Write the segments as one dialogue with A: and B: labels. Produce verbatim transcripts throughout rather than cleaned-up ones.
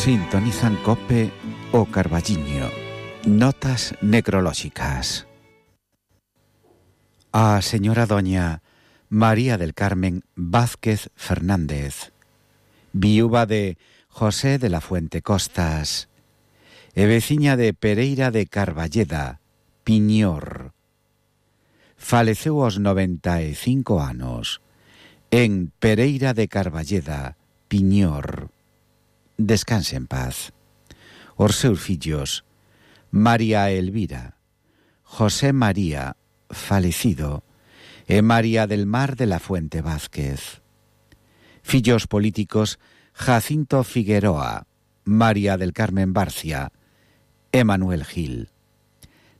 A: Sintonizan COPE o Carballiño. Notas necrolóxicas. A señora doña María del Carmen Vázquez Fernández, viúva de José de la Fuente Costas e veciña de Pereira de Carballeda, Piñor. Faleceu aos noventa e cinco anos en Pereira de Carballeda, Piñor. Descanse en paz. Os seus fillos, María Elvira, José María, falecido, e María del Mar de la Fuente Vázquez. Fillos políticos, Jacinto Figueroa, María del Carmen Barcia e Manuel Gil.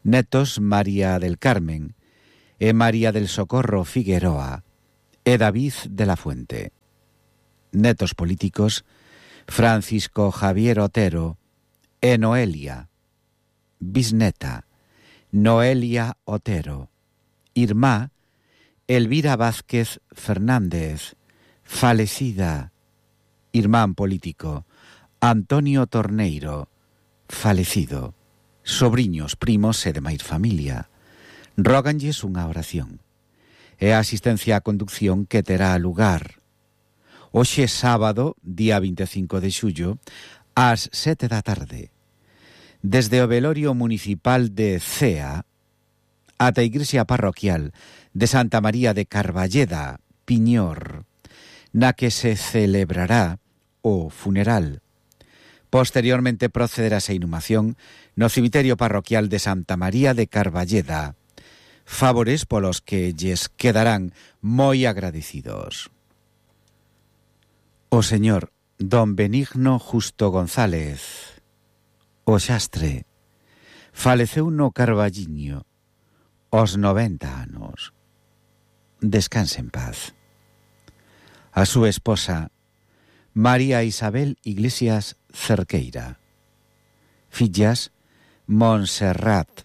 A: Netos, María del Carmen e María del Socorro Figueroa e David de la Fuente. Netos políticos, Francisco Javier Otero e Noelia. Bisneta, Noelia Otero. Irmá, Elvira Vázquez Fernández, falecida. Irmán político, Antonio Torneiro, falecido. Sobriños, primos e demais familia. Róganlles unha oración. E a asistencia á conducción que terá lugar hoxe sábado, día vinte e cinco de xullo, ás sete da tarde, desde o velorio municipal de Cea ata a igrexa parroquial de Santa María de Carballeda, Piñor, na que se celebrará o funeral. Posteriormente procederase a inhumación no cemiterio parroquial de Santa María de Carballeda, favores polos que lles quedarán moi agradecidos. O señor don Benigno Justo González, o xastre, faleceu no Carballiño aos noventa anos. Descanse en paz. A súa esposa, María Isabel Iglesias Cerqueira. Fillas, Montserrat,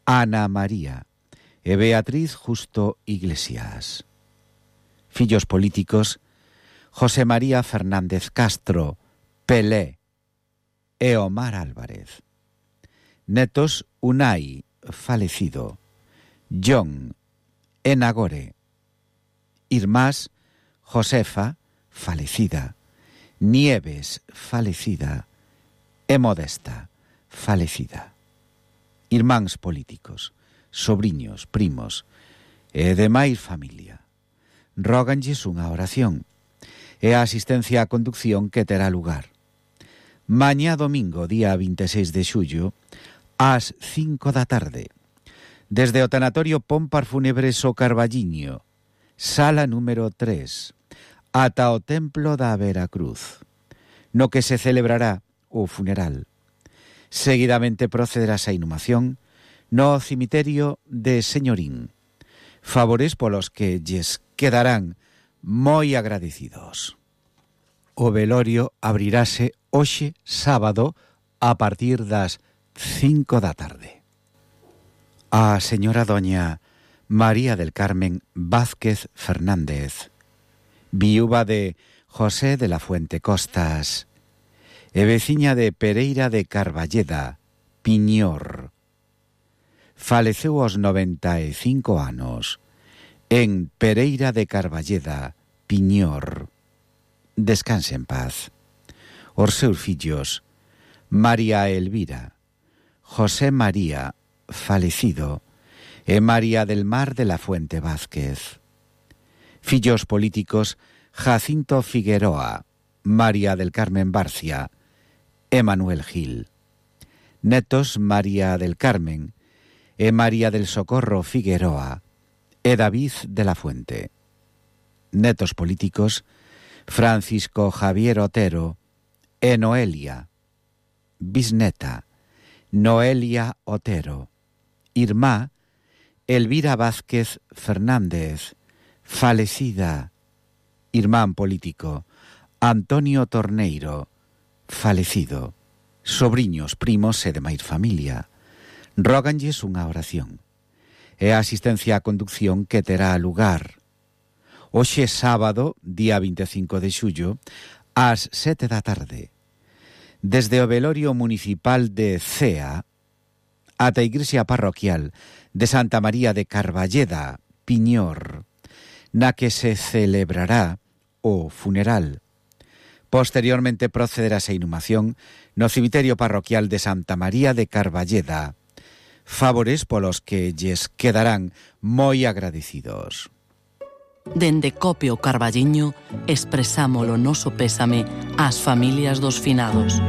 A: Ana María e Beatriz Justo Iglesias. Fillos políticos, José María Fernández Castro, Pelé e Omar Álvarez. Netos, Unai, falecido, John e Nagore. Irmás, Josefa, falecida, Nieves, falecida, e Modesta, falecida. Irmáns políticos, sobriños, primos e demais familia. Róganlles unha oración e a asistencia á conducción que terá lugar mañá domingo, día vinte e seis de xullo, ás cinco da tarde, desde o tanatorio Pompar Fúnebres o Carballiño, sala número tres, ata o templo da Veracruz, no que se celebrará o funeral. Seguidamente procederase a inhumación no cemiterio de Señorín, favores polos que lles quedarán moi agradecidos. O velorio abrirase hoxe sábado a partir das cinco da tarde. A señora doña María del Carmen Vázquez Fernández, viúva de José de la Fuente Costas e veciña de Pereira de Carballeda, Piñor. Faleceu aos noventa e cinco anos en Pereira de Carballeda, Piñor. Descanse en paz. Os seus fillos, María Elvira, José María, falecido, e María del Mar de la Fuente Vázquez. Fillos políticos, Jacinto Figueroa, María del Carmen Barcia e Manuel Gil. Netos, María del Carmen e María del Socorro Figueroa e David de la Fuente. Netos políticos, Francisco Javier Otero e Noelia. Bisneta, Noelia Otero. Irmá, Elvira Vázquez Fernández, falecida. Irmán político, Antonio Torneiro, falecido. Sobriños, primos e demais familia. Róganlles unha oración e a asistencia á conducción que terá lugar hoxe sábado, día vinte e cinco de xullo, ás sete da tarde, desde o velorio municipal de Cea ata a igrexa parroquial de Santa María de Carballeda, Piñor, na que se celebrará o funeral. Posteriormente procederase a inhumación no cemiterio parroquial de Santa María de Carballeda, favores polos que lles quedarán moi agradecidos.
B: Dende Cope o Carballiño expresamos o noso pésame ás familias dos finados.